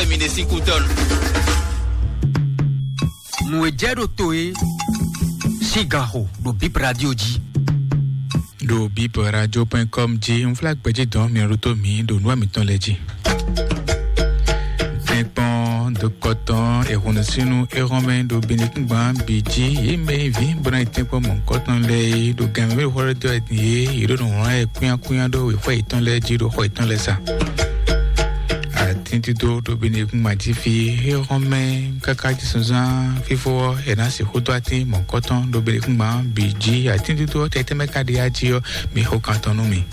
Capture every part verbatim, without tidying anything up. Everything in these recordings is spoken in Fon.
Mi ɖe sín kú tɔn. Nǔ e jɛ ɖo to e sín gan xo ɖo Bip Radio jí. Ɖo bip radio point com jí, n fla gbɛjí dɔn mi ɖo tó mi ɖo nǔ mǐtɔn lɛ́ɛ jí. Tɛ́nkpɔ́n dɔkɔtɔn ehunusínu ehɔnmɛ ɖo binukúngban bǐ jí, yě mɛ yi vǐ bó ná yi tɛ́nkpɔ́n mɔ̌hunkɔtɔn lɛ́ɛ é ɖo gan mɛ mɛ ɖo xɔ ɖé dó wɛ din é, yě ɖo nǔ wlán yɛ kúnnyákúnnyá ɖó wěxɔ yětɔn lɛ́ɛ jí ɖo xɔ yětɔn lɛ́ɛ sa. Atín dídó ɖo binukúngban jí fí, ehɔnmɛ káká jí sunzán fífó ɔ́, è nǎ sixú dó atín mɔ̌hunkɔtɔn ɖo binukúngban bǐ jí. Atín dídó ɔ́ tɛtɛ́ mɛ ka ɖe yá jí ɔ́, mi xo kan tɔn nú mì.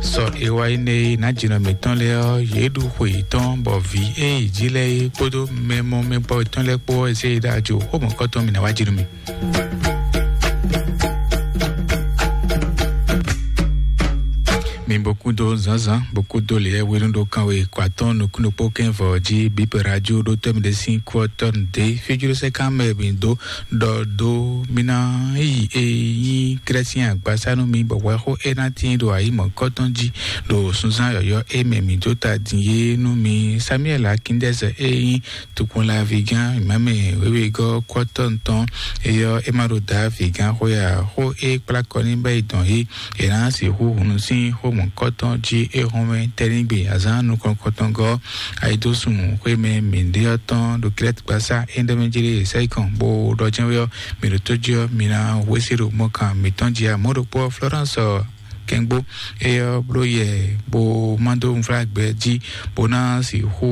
Sɔ e wá yi nɛ e nǎ jǐnɔ mǐtɔn lɛ́ɛ ɔ́, yě ɖu xwe yětɔn, bɔ vǐ e yi jí lɛ́ɛ é kpódó mɛ mɔ mɛ gbɔ yětɔn lɛ́ɛ kpó ɔ́, zé yi ɖo ajo xó mɔ̌hunkɔtɔn mì ná wá jí nú mì. Mi bó kúdó zǎnzǎn, bó kúdó lě wénú ɖó kánwe kɔ atɔ́ɔ́n nukúnnú kpó kɛ́nvɔ jí bíbɛ radio ɖó tɔ́ mi ɖé sín kú ɔ́ tɔ́ nu dé. Fíjúɖó sɛ́ kán mɛ mi dó ɖɔ dó mi ná yi e nyí Krɛ́sín agbasá nú mi, bɔ hwɛxó é ná tíin ɖo ayǐ mɔ̌kɔ́tɔn jí ɖo sunzán yɔ̌yɔ́ e mɛ mi dó ta din é nú mi. Samuɛ́l Akíndɛ́sɛ e nyí tukun laví gán mǎmɛ wěwegɔ́ kɔ́tɔn tɔn eyɔ é ma ɖo dǎ vǐ gán xwé ǎ. Xó e kplá kɔ ní bɛ́ yi dɔn yí è nǎ sixú hunu sín xó mɔ̌kɔtɔn jí é hɔn mɛ tɛ́nigbe azǎn nukɔn kɔtɔngɔ́ ayidósun xwé mɛ mǐɖé ɔ́ tɔn ɖo Kilɛ́ti gbasá é ɖɔ mɛ jí ɖe sɛ́yí kɔn bó ɖɔ jɛ́n wé ɔ́, mǐ ɖo tó jí ɔ́, mi ná hwesí ɖo mɔkan mǐtɔn jí ǎ. Mɔ̌ ɖokpó ɔ́, Florence kɛngbó éyɔ́ bló yɛ bó má dó nflágbɛ jí bó ná sixú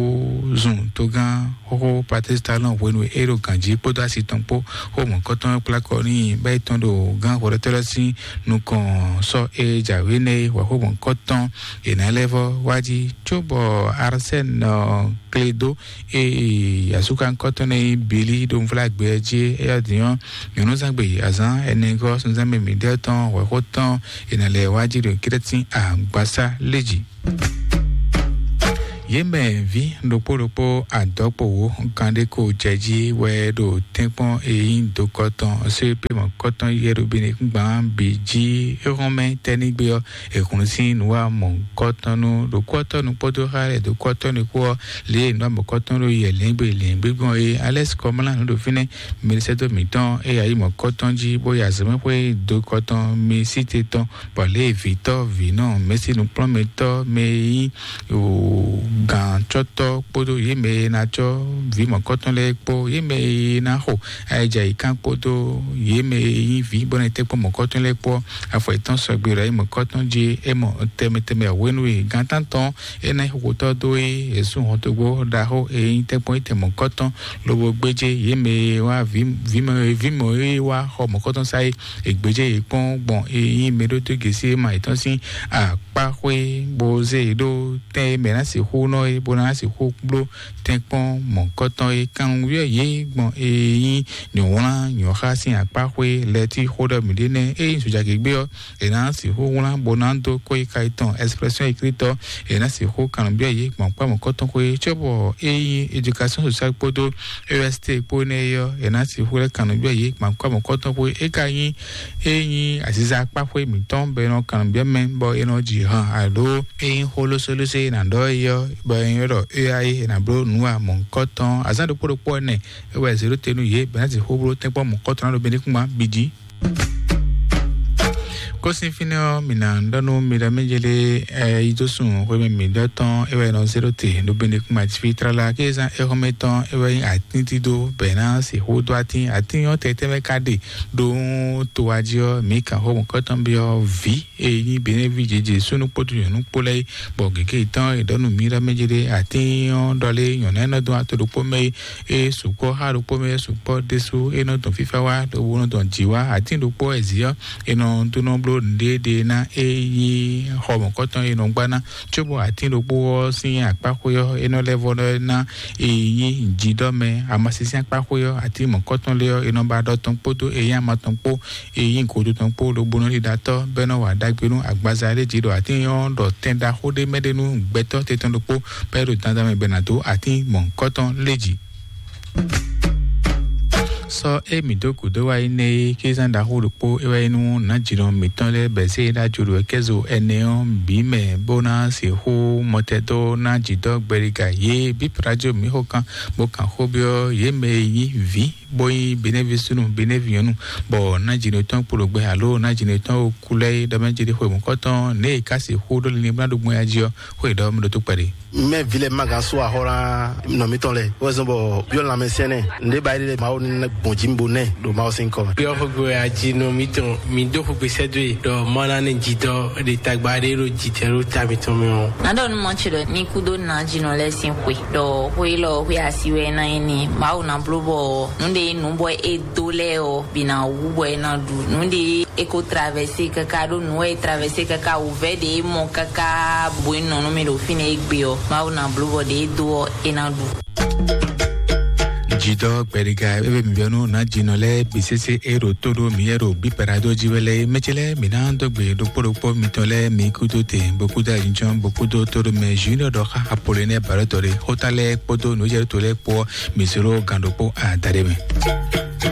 zun togán xóxó Patrice Talon hwenu e é ɖo gǎn jí kpódó asi tɔn kpó xó mɔ̌kɔtɔn kplá kɔ n'i bá yi tɔn ɖo gán hwɛɖɔtɔ́ lɛ́ɛ sín nukɔn sɔ́ e jǎwe nɛ́ é hwɛ̌xó mɔ̌kɔtɔn è nǎ lɛ́ vɔ́ wá jí cóbɔ Arsène Kledo e asúkankɔ́tɔn nɛ́ nyí Bili ɖo nflágbɛ jí é yá din ɔ́, nyɔ̌núzangbe azǎn ɛnɛgɔ́ sunzán mɛ mǐɖɛtɔn hwɛ̌xó tɔn è nǎ lɛ́ wá jí ɖo Krɛ́tin agbasá lé jí. Yě mɛ ví ɖokpó ɖokpó adɔ̌kpowǒ kanɖéko jɛ jí wɛ ɖo tɛ́nkpɔ́n e nyí dokɔtɔn sépémɔkɔtɔn yɛɖobinigban bǐ jí. Éhɔ́nmɛ tɛ́nígbe ɔ́, è hun sín nǔwamɔ̌kɔtɔn nú ɖokpɔ́tɔ́nu kpódó xá lɛ́ɛ dokɔtɔ́nu kpó ɔ́, lě e nǔwamɔ̌kɔtɔn ɖo yɛ lɛ̌ngbè lɛ̌ngbé gbɔn é. Alɛ́si kɔmlá nǔ ɖo fínɛ́, mɛɖisɛ́dó mǐtɔn e yí ayǐ mɔ̌kɔtɔn jí bó yi azɔ̌mɛxwé dokɔtɔn mi sí te tɔn bɔ lě e vǐtɔ́ vǐnɔ mɛ̌si nukplɔ́nmɛtɔ́ mɛ e nyí gǎncɔ́tɔ́ kpódó yě mɛ e ná cɔ́ vǐ mɔ̌kɔtɔn lɛ́ɛ kpó yě mɛ e ná xo ayǐjayǐkan kpódó yě mɛ e nyí vǐ bó ná yi tɛ́nkpɔ́n mɔ̌kɔtɔn lɛ́ɛ kpó afɔ yětɔn sɔgbe ɖo ayǐ mɔ̌kɔtɔn jí é mɔ tɛnmɛ tɛnmɛ hwenu e gǎntántɔn é ná nyí xixotɔ́ dó é, è sú hɔntogbó ɖaxó e nyí tɛ́nkpɔ́n yi tɛn mɔ̌kɔtɔn lobo gbéjé yě mɛ e wá vǐ vǐ mɔ vǐ mɔ e wá xɔ mɔ̌kɔtɔn sá é. È gbéjé yě kpɔ́n gbɔn e nyí mɛɖótó gěsí e ma yětɔn sín akpáxwé bó zé yě ɖó tɛn e mɛ ná sixú nɔ é bó ná sixú bló tɛ́nkpɔ́n mɔ̌kɔtɔn é. Kanwunwíyɔ yě gbɔn e nyí nyɔ̌wlán nyɔ̌xá sín akpáxwé lɛ́ɛ tí xó ɖɔ mǐɖé nɛ́ e nyí zojagěgbé ɔ́, è nǎ sixú wlán bó ná dó kó yi ka yětɔn Expression écrite ɔ́, è nǎ sixú kanlɔ́nbyɔ́ yě gbɔn kpá mɔ̌kɔtɔn xwé cóbɔ é nyí éducation sociale kpódó E S T kpó nɛ́ é ɔ́, è nǎ sixú lɛ́ kanlɔ́nbyɔ́ yě gbɔn kpá mɔ̌kɔtɔn xwé. É ka nyí é nyí aziza akpá xwé mǐtɔn bɔ è nɔ kanlɔ́nbyɔ́ mɛ bɔ è nɔ ji han alo é nyí xó lósólósó e è nǎ ɖɔ é ɔ́ bɔ è nyí ɖɔ é wá é è nǎ bló nǔ wa mɔ̌kɔtɔn azǎn ɖokpó ɖokpó ɔ́ nɛ é wɛ zěɖótenu yě bɔ è nǎ sixú bló tɛ́nkpɔ́n mɔ̌kɔtɔn ná ɖo benekúnma bǐ jí. Kósin fínɛ́ ɔ́, mǐ ná ɖɔ nú mi ɖɔ mɛ jɛ lé ɛ yi dó sun xwé mɛ mǐ ɖɔ tɔn é wɛ nɔ zé ɖó te ɖo bene kún ma fi tlala ké zán é xɔmɛ tɔn é wɛ nyí atín dídó bɛ̌ ná sixú dó atín atín ɔ́ tɛtɛ́ mɛ ka ɖe ɖó to wá jí ɔ́, mǐ kan xó mɔ̌kɔtɔn byɔ́ vǐ e nyí Beneví Jeje súnnu kpódó nyɔ̌nu kpó lɛ́ɛ é, bɔ gěgé tɔn è ɖɔ nú mǐ ɖɔ mɛ jɛ lé atín ɔ́ ɖɔ lé nyɔ̌nu e nɔ dó ato ɖokpó mɛ é. E sukpɔ́ xá ɖokpó mɛ sukpɔ́ ɖésú é nɔ dɔn fífá wá, lobo nɔ dɔn jǐ wá. Atín ɖokpó wɛ zǐ ɔ́, è nɔ dó nɔ bló nǔɖéɖé ná é nyí xɔ mɔ̌kɔtɔn e nɔ gbá ná, cóbɔ atín ɖokpó ɔ́ sín akpáxwé ɔ́, é nɔ lɛ́ vɔ ná é nyí jǐɖɔmɛ. Amasín sín akpáxwé ɔ́, atín mɔ̌kɔtɔn lé ɔ́, è nɔ ba ɖɔ tɔn kpódó é nyí ama tɔn kpó, é nyí gǒdo tɔn kpó, lobo nɔ ɖiɖatɔ́ bɔ é nɔ wa ɖagbe nú agbaza lé jí ɖɔ atín ɔ́ ɖɔ tɛn ɖaxó ɖé mɛ ɖé nú gbɛtɔ́ tɛtɔn ɖokpó bɔ é ɖo dandan mɛ bɔ è nǎ dó atín mɔ̌kɔtɔn lé jí. Sɔ e mi dó gǔdo wá yi nɛ é kézán ɖaxó ɖokpó é wá yi nú nǎjínɔ mǐtɔn lɛ́ɛ bɛ̌ zé ɖó ajo ɖo kɛ́zo ɛnɛ ɔ́ bǐ mɛ bó ná sixú mɔtɛdó ná jǐdɔ́ gbɛɖiga yě bí prajo mǐ xo kan bó kan xó byɔ́ yě mɛ e nyí vǐ bó nyí benévi súnnu benévi nyɔ̌nu, bɔ nǎjínɔ tɔn kpo ɖo gbɛ alo nǎjínɔ tɔn kú lɛ́ɛ é ɖɔ mɛ jí ɖi xwe mɔ̌kɔtɔn ně e ka sixú ɖó linlin bó ná ɖo gbɔn ya jí ɔ́, xó e ɖɔ mɛ ɖo tó kpɛɖé. Mɛ vi lɛ ma gan so axɔ la nɔ mitɔn lɛ wɛzɔn bɔ biɔ lanmɛ sɛnɛ nde ba yi lɛ mawo ni gbɔn ji bo nɛ ɖo mawo sin kɔ. Biɔ xogbe aji nɔ mitɔn mi do xogbe sɛdo ye ɖɔ mɔ na ne ji dɔ de tagba de ɖo ji tɛ ɖo ta mitɔn mi o. Na ɖɔ nu mɔ tsi ɖɔ ni kudo na jinɔ lɛ sin xwe ɖɔ xwe lɔ xwe asi wɛ na yi ni mawu na blo bɔ nu de nu bɔ e do lɛ o bi na wu bɔ e na ɖu nu de e ko traverse kaka ɖo nu e traverse kaka wu vɛ de mɔ kaka bo e nɔ nu mi ɖo fi ne e gbe ɔ mawu na blo bɔ de e do ɔ e na ɖu. Jidɔ gbɛɖiga ebe mibiɔnu na jinɔ lɛ bisese e ɖo to ɖo mi yɛ ɖo bi parado ji wɛ lɛ mɛtsɛ lɛ mi na dɔ gbe ɖokpɔ ɖokpɔ mitɔn lɛ mi kudo te bokudo ajinjɔn bokudo to ɖo mɛ junior ɖɔ xa apolonɛ barɔtɔ ɖe xota lɛ kpɔdo nujɛ to lɛ kpɔ misoro gan ɖokpɔ adaɖe mɛ.